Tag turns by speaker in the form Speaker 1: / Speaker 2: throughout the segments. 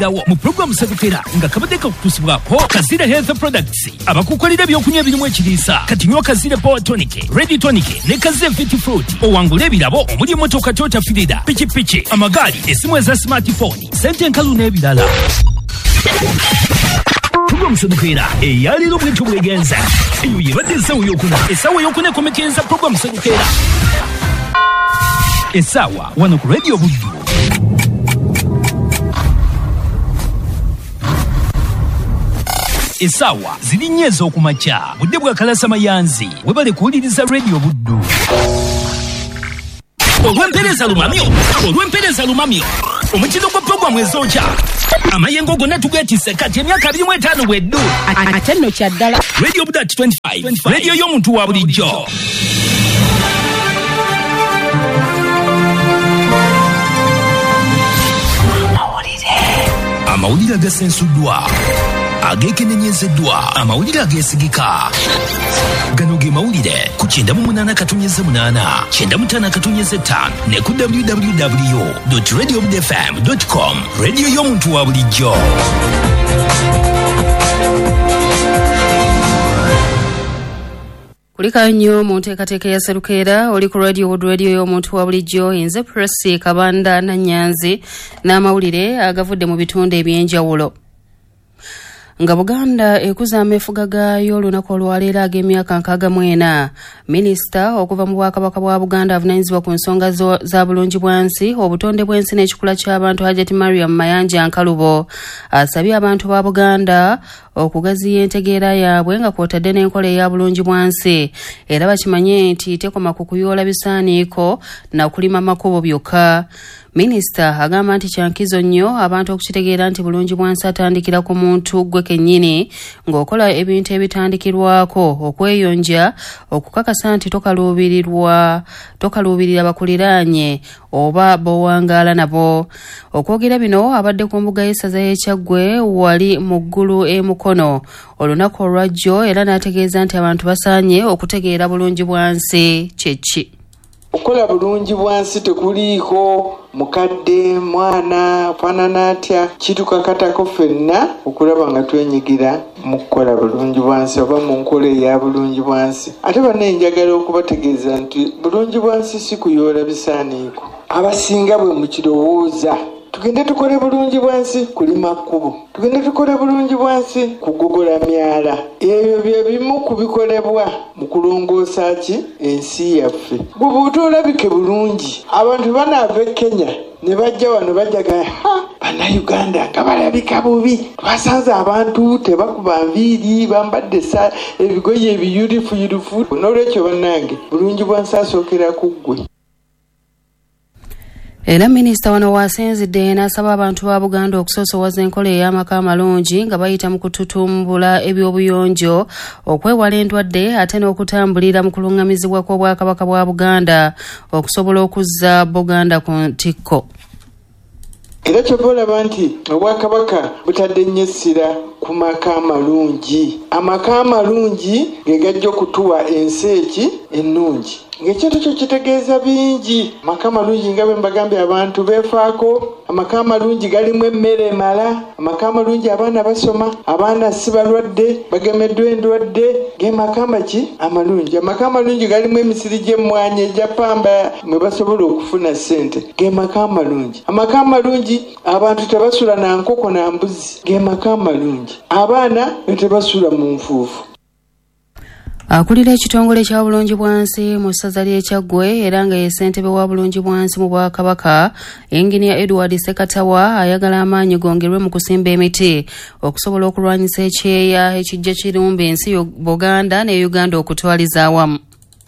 Speaker 1: Dawo mu pulogulaamu Sserukeera nga kabadde kakutuusibwako Kazira Health Products, abakukolera ebyokunywa ebirimu ekiriisa. Kati nywa Kazira Power Tonic, Red Tonic ne Kazira Fit Fruit, owangule ebirabo omuli emmotoka Toyota Fielder, pikipiki, amagaali, essimu eza smartphone, sente enkalu n'ebirala. Pulogulaamu Sserukeera eyaleero bwetyo bwegenza. Eyo yebadde essaawa eyokuna. Essaawa eyokuna ekomekereza pulogulaamu Sserukeera essaawa wano ku Radio Buddu. Essaawa ziri nnya ez'okumakya, budde bwa Kalasa Mayanzi. Webale kuwuliriza Radio Buddu. Olw'empeereza lumamyo, olw'empeereza lumamyo, omutindo gwa pulogulaamu ezookya amayengo gonna tugeetisse kati emyaka 25 bweddu.
Speaker 2: Ate nno kya ddala.
Speaker 1: Radio Buddu at 25, radio y'omuntu wa bulijjo. Amawulire agasensuddwa, ageekenenyezeddwa, amawulire ageesigika. Gano ge mawulire ku 98.8, 95.5 ne ku www.radiobudfm.com. Radio y'omuntu wa bulijjo.
Speaker 3: Kulika nnyo mu nteekateeka ya Sserukeera, oli ku Radio Buddu, radio y'omuntu wa bulijjo. Nze Presi Kabanda Nannyanzi n'amawulire agavudde mu bitundu eby'enjawulo. Nga Buganda ekuza ameefuga gaayo olunaku olwaleero ag'emyaka 64, minisita okuva mu Bwakabaka bwa Buganda avunaanyizibwa ku nsonga za bulungi bwansi, obutonde bw'ensi n'ekikula ky'abantu, Hajati Mariam Mayanja Nkalubo, asabye abantu ba Buganda okugaziya entegeera yaabwe nga kw'otadde n'enkola eya bulungi bwansi, era bakimanye nti tekoma ku kuyoola bisaaniiko na kulima makubo byokka. Minisita agamba nti kyankizo nnyo abantu okukitegeera nti bulungi bwansi atandikira ku muntu gwe kennyini, ng'okola ebintu ebitandikirwako okweyonja, okukakasa nti tokaluubirira bakuliraanye oba b'owangaala nabo. Okwogera bino abadde ku mbuga y'essaza y'e Kyaggwe wali mu ggulu e Mukono olunaku olwajjo, era n'ategeeza nti abantu basaanye okutegeera bulungi bwansi kye ki.
Speaker 4: Okukola bulungi bwansi tekuliiko mukadde, mwana, afaanana atya, kitukakatako ffenna okulaba nga twenyigira mu kukola bulungi bwansi oba mu nkola eya bulungi bwansi. Ate bannaye njagala okubategeeza nti bulungi bwansi si kuyoola bisaaniiko. Abasinga bwe mukirowooza, tugende tukole bulungi bwansi kulima kkubo, tugende tukole bulungi bwansi kugogola myala. Ebyo bye bimu ku bikolebwa mu kulongoosa ki ensi yaffe. Gwe bw'oba olabike bulungi, abantu banaava e Kenya ne bajja wano bajjaga, ha, Bannayuganda nga balabika bubi, twasanze abantu tebakuba nviiri, bambadde ebigoye ebiyulifuyulifu. N'olwekyo bannange, bulungi bwansi asookera ku ggwe.
Speaker 3: Era minisita wano waasinzidde n'asaba abantu ba Buganda okusoosowaza enkola ey'amaka amalungi nga bayita mu kututumbula ebyobuyonjo, okwewala endwadde ate n'okutambulira mu kulungamizibwa kw'Obwakabaka bwa Buganda okusobola okuzza Buganda ku ntikko.
Speaker 4: Era kyova olaba nti Obwakabaka butadde nnyo essira ku maka amalungi. Amaka amalungi ge gajja okutuwa ensi eki ennungi. Ng'ekintu kyo kitegeeza bingi. Amaka amalungi nga bwe mbagambye abantu beefaako, amaka amalungi galimu emmere emala, amaka amalungi abaana basoma, abaana si balwadde, bagemeddwa endwadde, ge maka maki amalungi. Amaka amalungi galimu emisiri gy'emmwanyi egya ppamba mwe basobola okufuna ssente, ge maka amalungi. Amaka amalungi abantu tebasula na nkoko na mbuzi, ge maka amalungi. Abaana tebasula mu nfuufu.
Speaker 3: Akulira ekitongole kya bulungi bwansi mu ssaza ly'e Kyaggwe era nga ye ssentebe wa bulungi bwansi mu Bwakabaka, Engineer Edward Ssekatawa, ayagala amaanyi gongerwe mu kusimba emiti okusobola okulwanyisa ekyeya ekijja kirumba ensi Buganda ne Uganda okutwaliza awamu.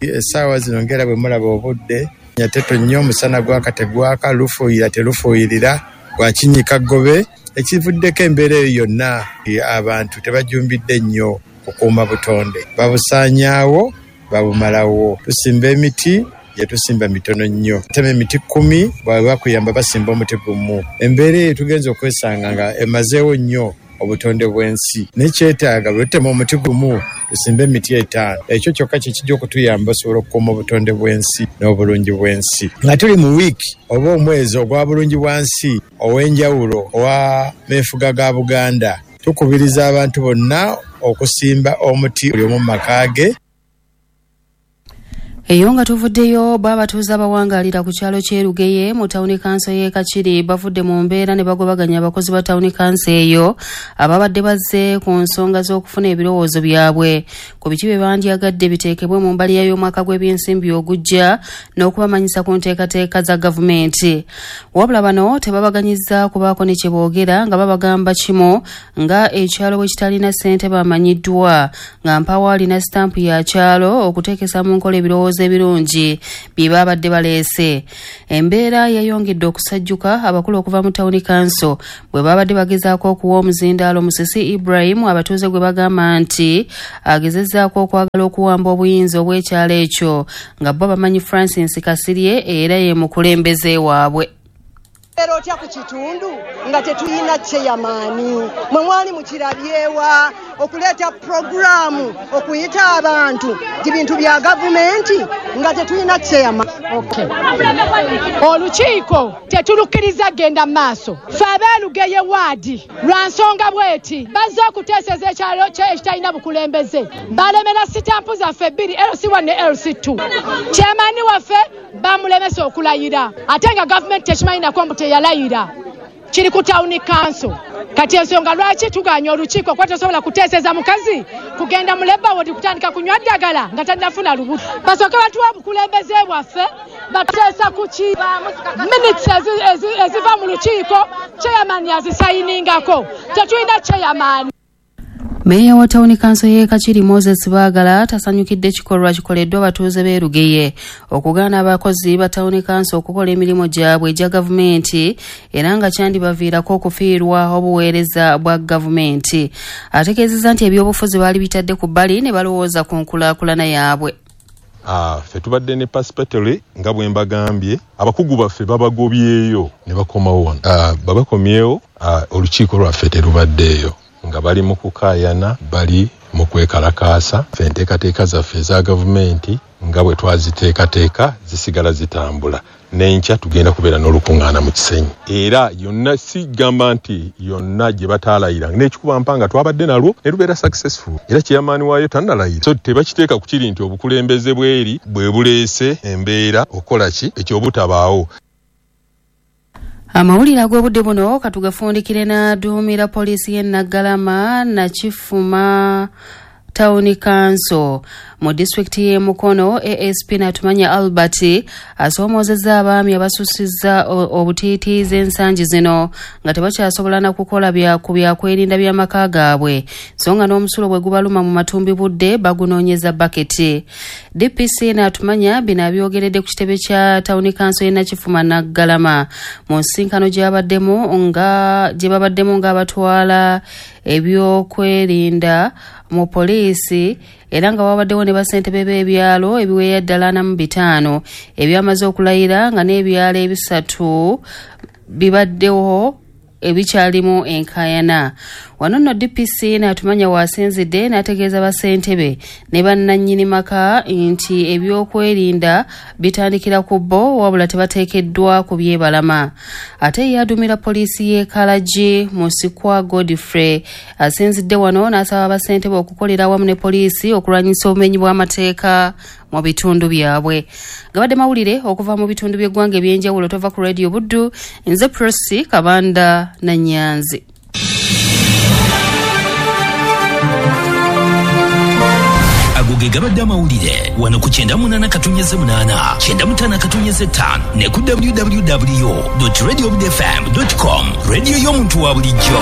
Speaker 5: Essaawa zino ngera bwe mulaba obudde nyateto nnyo, omusana gwaka tegwaka, lufuuyira telufuuyirira, gwakinyika ggobe. Ekivuddeko embeera eyo yonna, abantu tebajumbidde nnyo kukuuma butonde, babusaanyaawo, babumalawo. Tusimba emiti, gye tusimba mitono nnyo, tema emiti 10, bwe bakuyamba basimba omuti gumu. Embeera eyo tugenza okwesanga nga emazeewo nnyo obutonde bw'ensi. Nekyetaaga bwe tutema omuti gumu tusimbe emiti 5. Ekyo kyokka kye kijja okutuyamba osobola okukuuma obutonde bw'ensi n'obulungi bw'ensi. Nga tuli mu wiiki oba omwezi ogwa bulungi bwa nsi ow'enjawulo owa meefuga ga Buganda, tukubiriza abantu bonna okusimba omuti buli omu mu maka ge.
Speaker 3: Eyo nga tuvuddeyo, bo abatuuze abawangaalira ku kyalo ky'e Lugeye mu tawuni kanso y'e Kakiri bavudde mu mbeera ne bagobaganya abakozi ba tawuni kanso eyo ababadde bazze ku nsonga z'okufuna ebirowoozo byabwe ku biki bye bandyagadde biteekebwe mu mbalirira y'omwaka gw'ebyensimbi ogujja n'okubamanyisa ku nteekateeka za gavumenti. Wabula bano tebabaganyizza kubaako ne kye boogera nga babagamba kimu nga ekyalo bwe kitalina ssente bamanyiddwa nga mpawo alina sitampu ya kyalo okuteekesa mu nkola ebirowoozo ebirungi bye babadde baleese. Embeera yayongedde okusajjuka abakulu okuva mu tawuni kanso bwe babadde bagezaako okuwa omuzindaalo Musisi Ibrahim abatuuze gwe bagamba nti agezezzaako okwagala okuwamba obuyinza obw'ekyalo ekyo nga bo bamanyi Francis Kasirye era ye mukulembeze waabwe.
Speaker 2: Era otya ku kitundu nga tetulina chairman, mwe mwali mukirabyewa okuleeta puroguraamu okuyita abantu nti bintu bya gavumenti nga tetulina chairman.
Speaker 6: Okay. Olukiiko tetulukkiriza genda maaso. Ffe ab'e waadi lwa nsonga bweti bazze okuteeseza ekyalo ekitalina bukulembeze, balemera sitampu zaffe 2 LC1 ne LC2. Chairman waffe bamulemesa okulayira ate nga gavumenti tekimanyi nako mbu teyalayira, kiri ku tawuni kanso. Kati ensonga lwaki tuganya olukiiko kuba tosobola kuteeseza mukazi kugenda mu labour ward kutandika kunywa ddagala nga tannafuna lubuto. Basooke batuwa obukulembeze bwaffe, bateesa ku ki minutes eziva mu lukiiko, chairman azisayiningako. Tetulina chairman.
Speaker 3: Meeya wa tawuni kanso y'e Kakiri Moses Baagala tasanyukidde kikolwa kikoleddwa abatuuze b'e Lugeye okugaana abakozi ba tawuni kanso okukola emirimu gyabwe egya gavumenti era nga kyandibaviirako okufiirwa obuweereza bwa gavumenti. Ategeezezza nti ebyobufuzi baali bitadde ku bbali ne balowooza ku nkulaakulana yaabwe.
Speaker 7: Ffe tubadde ne participatory nga bwe mbagambye, abakugu baffe babagobyeyo ne bakomawo wano. Babakomyewo, olukiiko lwaffe terubaddeeyo nga bali mu kukaayana, bali mu kwekalakaasa. Ffe enteekateeka zaffe eza gavumenti nga bwe twaziteekateeka zisigala zitambula. N'enkya tugenda kubeera n'olukuŋŋaana mu Kisenyi. Era yonna sigamba nti yonna gye bataalayira, n'ekikuba mpanga twabadde nalwo ne lubeera successful. Era chairman waayo tannalayira. So tebakiteeka ku kiri nti obukulembeze bweri bwe buleese embeera okukola ki ekyobutabaawo.
Speaker 3: Amawulire ag'obudde buno katugafundikire n'aduumira poliisi y'e Naggalama Nakifuma Tawuni Kanso mu disitulikiti y'e Mukono. ASP Natumanya Albert asoomoozezza abaami abasusizza obutiitiizi ensangi zino nga tebakyasobola na kukola ku byakwerinda by'amaka gaabwe, so nga n'omusulo bwe gubaluma mu matumbi budde bagunoonyeza baketi. DPC Natumanya bino abyogeredde ku kitebe kya Tawuni Kanso y'e Nakifuma Naggalama mu nsisinkano gye babaddemu ng'abatwala ebyokwerinda mu poliisi era nga wabaddewo ne bassentebe b'ebyalo ebiweeya ddala 45 ebyamaze okulayira nga n'ebyalo 3 bibaddewo ebikyalimu enkaayana. Wano nno DPC n'atumanya waasinzidde n'ategeeza bassentebe ne bannannyini maka nti ebyokwerinda bitandikira ku bo wabula tebateekeddwa ku byebalama. Ate ye adumira poliisi y'e Kalagi Musikwa Godfrey asinzidde wano n'asaba bassentebe okukolera awamu ne poliisi okulwanyisa obumenyi bw'amateeka mu bitundu byabwe. Gabadde mawulire okuva mu bitundu by'eggwanga eby'enjawulo. Tova ku Radio Buddu, nze Prossy Kabanda Nanyanzi.
Speaker 1: Ago ge gabadde amawulire wano ku 98.8, 95.5 ne ku www.radiobudfm.com. Radio y'omuntu wa bulijjo.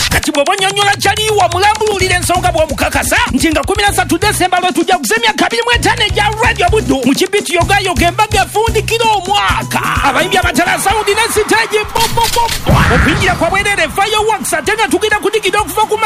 Speaker 1: Kati bw'oba onnyonnyola kyaliwa mulambululira ensonga bw'omukakasa nti nga 13 Desemba lwe tujja kuza emyaka 25 egya Radio Buddu mu kibiti yogayoga embaga efundikira omwaka. Abayimbi abatala sawundi ne siteegi okuyingira kwa bwereere fireworks ate nga tugenda kudigida okuva ku